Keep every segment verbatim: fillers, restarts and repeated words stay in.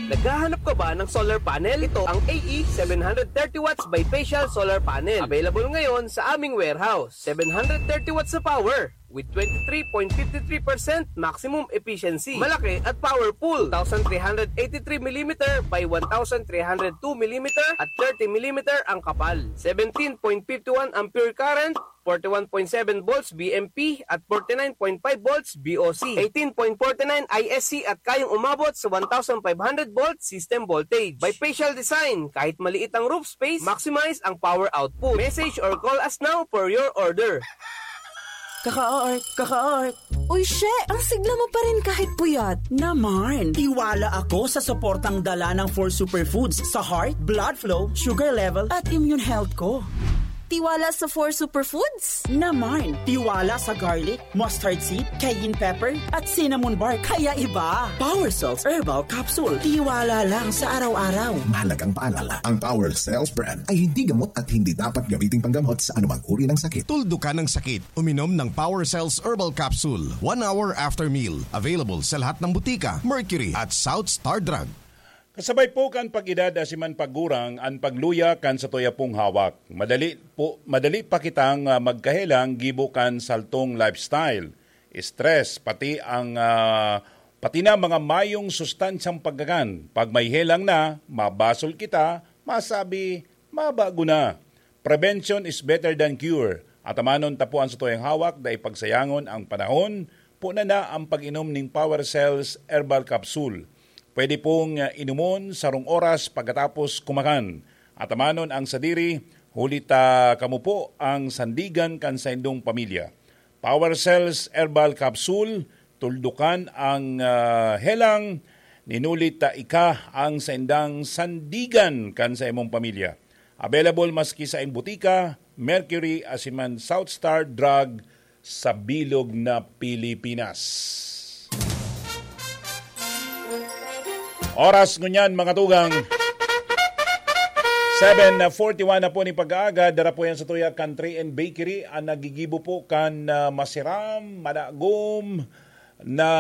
Naghahanap ka ba ng solar panel? Ito ang A E seven hundred thirty watts bifacial solar panel. Available ngayon sa aming warehouse. Seven hundred thirty watts sa power with twenty-three point five three percent maximum efficiency. Malaki at powerful. Two thousand three hundred eighty-three millimeter by one thousand three hundred two millimeter at thirty millimeter ang kapal. Seventeen point five one ampere current, forty-one point seven volts V M P at forty-nine point five volts V O C, eighteen point forty-nine I S C at kayang umabot sa one thousand five hundred volt system voltage. Bifacial design, kahit maliit ang roof space, maximize ang power output. Message or call us now for your order. Kaka-art, kaka-art. Uy, she, ang sigla mo pa rin kahit puyat. Naman, tiwala ako sa suportang dala ng four superfoods sa heart, blood flow, sugar level, at immune health ko. Tiwala sa four superfoods? Naman, tiwala sa garlic, mustard seed, cayenne pepper, at cinnamon bark. Kaya iba. Power Cells Herbal Capsule. Tiwala lang sa araw-araw. Mahalagang paalala, ang Power Cells brand ay hindi gamot at hindi dapat gamitin panggamot sa anumang uri ng sakit. Tuldukan ang sakit. Uminom ng Power Cells Herbal Capsule one hour after meal. Available sa lahat ng butika, Mercury at South Star Drug. Kasabay po kan pag-edad asin man paggurang an pagluya kan satuya pong hawak. Madali po, madali pa kitang, ah, magkahelang gibo kan saltong lifestyle, stress, pati ang, ah, pati na mga mayong sustansyang pagkakan. Pag may helang na, mabasol kita, masabi, mabago na. Prevention is better than cure. Atamanon ta po an satuyang hawak, dai pagsayangon ang panahon, puna na ang pag-inom ning Power Cells Herbal Capsule. Pwede pong, ah, inumon sarong oras pagkatapos kumakan. Atamanon ang sadiri, huli ta kamo po ang sandigan kan saindong pamilya. Power Cells Herbal Capsule, tuldukan ang, ah, helang, ninuli ta ika ang saindang sandigan kan sa imong pamilya. Available maski sa ing butika, Mercury, asin man South Star Drug sa bilog na Pilipinas. Oras ngunyan, mga tugang. Seven forty-one na po ni pag-aaga, dara po yan sa tuya kan Three N Bakery, ang nagigibo po kan, ah, masiram, madagom na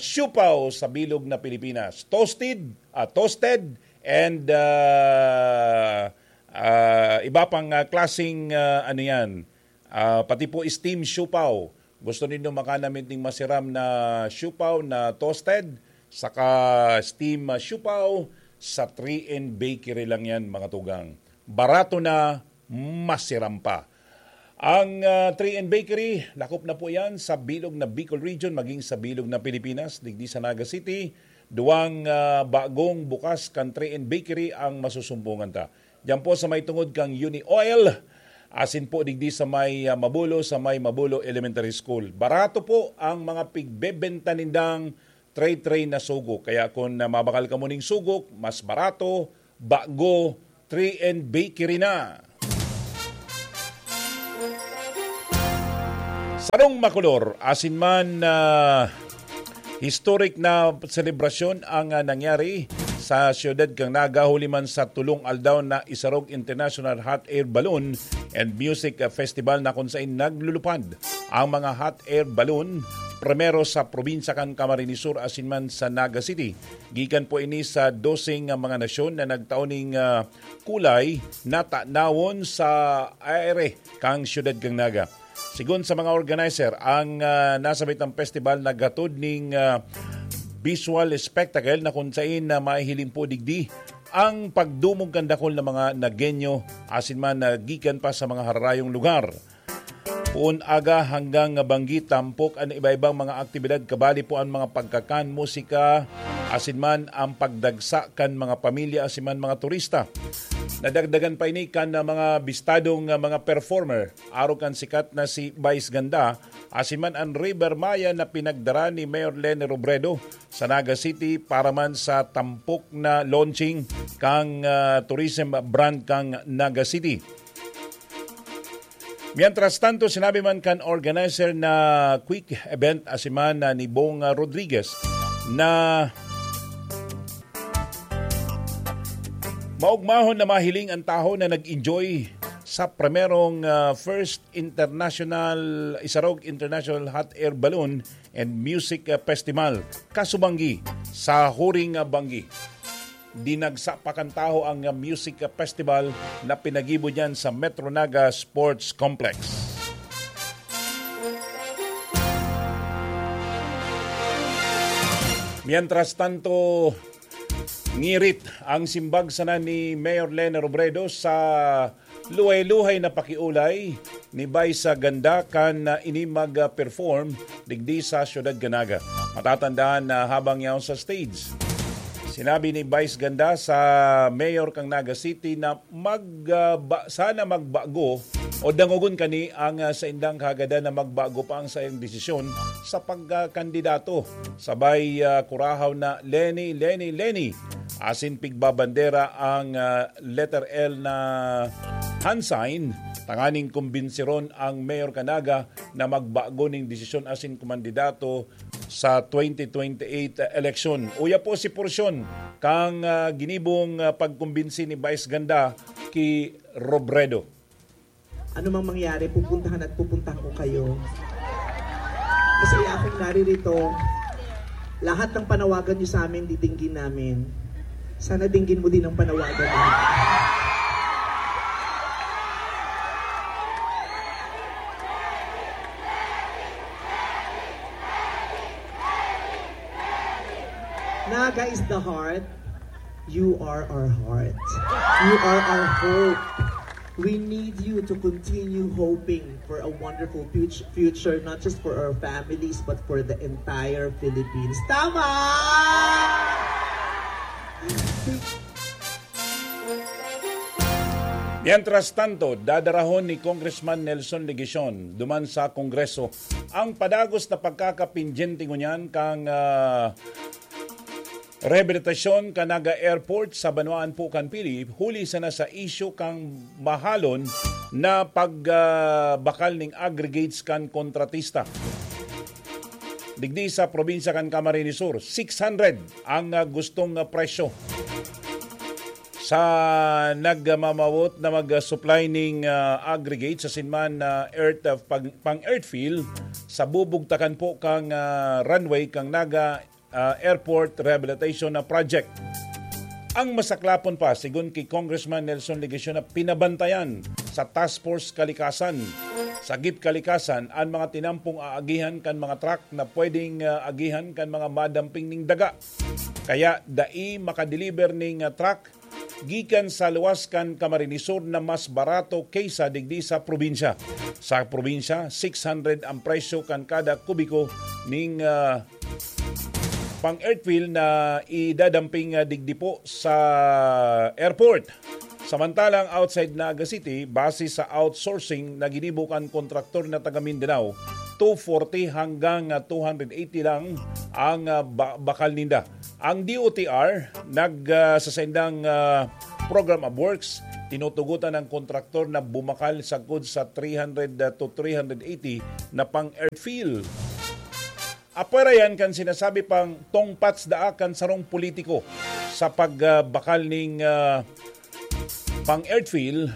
siopao sa bilog na Pilipinas. Toasted, ah, toasted, and, ah, ah, iba pang, ah, klaseng, ah, ano yan, ah, pati po steam siopao. Gusto nindo makanamit ning masiram na siopao na toasted, saka steam, ah, siopao, sa Three N Bakery lang yan, mga tugang. Barato na, masiram pa. Ang, ah, Three N Bakery, lakop na po yan sa bilog na Bicol Region, maging sa bilog na Pilipinas, digdi sa Naga City, duwang, ah, bagong bukas kan Three N Bakery ang masusumbungan ta. Diyan po sa may tungod kang Uni Oil, asin po digdi sa may, ah, Mabulo, sa may Mabulo Elementary School. Barato po ang mga pigbebenta nindang tray-tray na sugok. Kaya kung, ah, mabakal ka muning sugok, mas barato, bago, Three N Bakery na. Sarong makulor, asin man, ah, historic na selebrasyon ang, ah, nangyari sa siyudad kan Naga huli man sa tulong aldaw na Isarog International Hot Air Balloon and Music, ah, Festival na kung sain naglulupad ang mga hot air balloon, primero sa probinsya kan Camarines Sur asin man sa Naga City. Gikan po ini sa doseng, ah, mga nasyon na nagtao ning, ah, kulay na tanawon sa aire kan siyudad kan Naga. Sigon sa mga organizer, ang, ah, nasabitang festival naghatod ning, ah, visual spectacle na kung sain na mahihiling po digdi ang pagdumog kan dakul na mga Nagueño asin man na gikan pa sa mga hararayong lugar. Poon aga hanggang banggi, tampok an iba-ibang mga aktibidad, kabali po an mga pagkakan, musika, asin man ang pagdagsa kan mga pamilya asin man mga turista. Nadagdagan pa ini kan, ah, mga bistadong, ah, mga performer, arog kan sikat na si Vice Ganda, asin man an River Maya na pinagdara ni Mayor Leni Robredo sa Naga City para man sa tampok na launching kang, ah, tourism brand kang Naga City. Mientras tanto, sinabi man kan organizer na quick event, asin man na ni Bong, ah, Rodriguez, na maugmahon na mahiling ang tawo na nag-enjoy sa primerong, ah, First International, Isarog International Hot Air Balloon and Music, ah, Festival, Kasubanggi, sa Huring, ah, Banggi. dinagsa pa kan tawo ang music festival na pinagibo diyan sa Metro Naga Sports Complex. Mientras tanto, ngirit ang simbag sana ni Mayor Leni Robredo sa luhay-luhay na pakiulay ni Vice Ganda kan, ah, ini mag-perform digdi sa siyudad kan Naga. Matatandaan na habang yaon sa stage, sinabi ni Vice Ganda sa mayor kan Naga City na mag, ah, ba-, sana magbago o dangogon kani ang, ah, saindang kahagadan na magbago pa ang saiyang desisyon sa pagkakandidato. Sabay, ah, kurahaw na, "Leni, Leni, Leni!" Asin pigbabandera ang, ah, letter L na hand sign, tanganing kumbinsiron ang Mayor kan Naga na magbago ning desisyon asin kumandidato sa twenty twenty-eight eleksyon. Uya po si porsyon kan, ah, ginibong, ah, pagkumbinsi ni Vice Ganda ki Robredo. Ano mang mangyari, pupuntahan at pupuntahan ko kayo. Masaya akong naririto. Lahat ng panawagan niyo sa amin, didinggin namin. Sana dinggin mo din ang panawagan namin. Naga is the heart. You are our heart. You are our hope. We need you to continue hoping for a wonderful fut- future, not just for our families, but for the entire Philippines. Tama! Mientras tanto, dadarahon ni Congressman Nelson Legacion duman sa Kongreso ang padagos na pagkakapindyente ngunyan kan, ah, rehabilitasyon kan Naga Airport sa banwaan po kan Pili, huli sana sa isyu kan mahalon na pag, ah, bakal ning aggregates kan kontratista. Digdi sa probinsya kan Camarines Sur, six hundred ang, ah, gustong, ah, presyo sa nagmamawot na mag-supply ning, ah, aggregate sa sinman na earth, ah, pang, pang earth fill sa bubugtakan po kang, ah, runway kang Naga, ah, Airport Rehabilitation na project. Ang masaklapon pa, sigon ki Congressman Nelson Legacion, na pinabantayan sa Task Force Kalikasan, sa gip kalikasan, ang mga tinampong aagihan kan mga truck na pwedeng, ah, agihan kan mga madamping ning daga. Kaya dai makadeliver ning, ah, truck gikan sa luwas kan Camarines Sur na mas barato kaysa digdi sa probinsya. Sa probinsya, six hundred ang presyo kan kada kubiko ning, ah, pang earthfill na idadamping, ah, digdi po sa airport. Samantalang outside Naga City, base sa outsourcing na ginibo kan kontraktor na taga Mindanao, two forty hanggang, ah, two hundred eighty lang ang, ah, ba-, bakal ninda. Ang D O T R nag, ah, sa saindang, ah, program of works, tinutugutan ang kontraktor na bumakal sagkod sa three hundred to three hundred eighty na pang earthfill. Apwera yan kan sinasabi pang tungpats daa kan sarong politiko sa pagbakal ning, ah, pang earthfill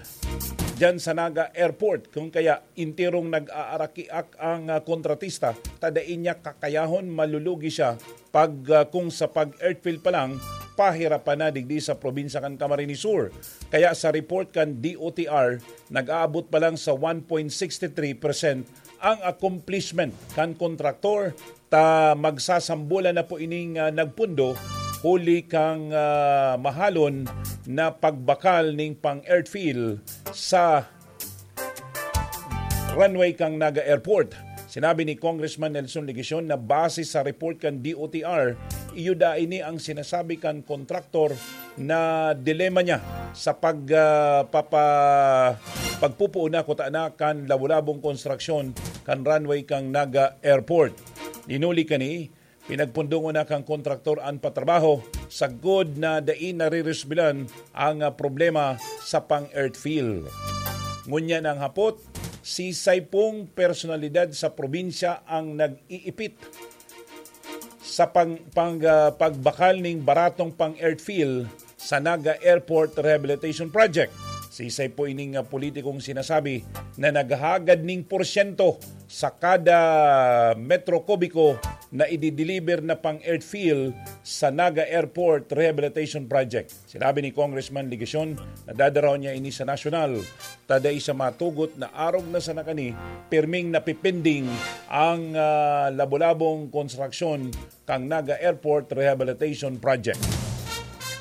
diyan sa Naga Airport. Kung kaya, enterong nag-aarakiak ang, ah, kontratista, ta dai niya kakayahon, malulugi siya pag, ah, kung sa pag-earthfill pa lang, pahirapan na digdi sa probinsya kan Camarines Sur. Kaya sa report kan D O T R, nag-aabot pa lang sa one point six three percent ang accomplishment kan kontraktor, ta magsasambolan na po ining, ah, nagpundo huli kang, ah, mahalon na pagbakal ning pang-earthfill sa runway kang Naga Airport. Sinabi ni Congressman Nelson Legacion na base sa report kan D O T R, iyo daa ini ang sinasabi kan kontraktor na dilema niya sa pag, ah, papa-, pagpupuon na kuta na kan labo-labong konstruksyon kan runway kang Naga Airport. Dinuli kani, pinagpundongon na kan kontraktor an patrabaho, sagkod na dai nariresbilan ang, ah, problema sa pang-earthfill. Ngunyan ang hapot, sisay pong personalidad sa probinsya ang nag-iipit sa pang-, pang-, ah, pagbakal ning baratong pang-earthfill sa Naga Airport Rehabilitation Project. Sisay po ining, ah, politikong sinasabi na naghahagad ning porsyento sa kada metro kubiko na idideliver na pang-earthfill sa Naga Airport Rehabilitation Project. Sinabi ni Congressman Legacion na dadarahon niya ini sa nasyonal, ta dai siya matugot na arog na sana kani, pirming napipinding ang, ah, labo-labong konstruksyon kan Naga Airport Rehabilitation Project.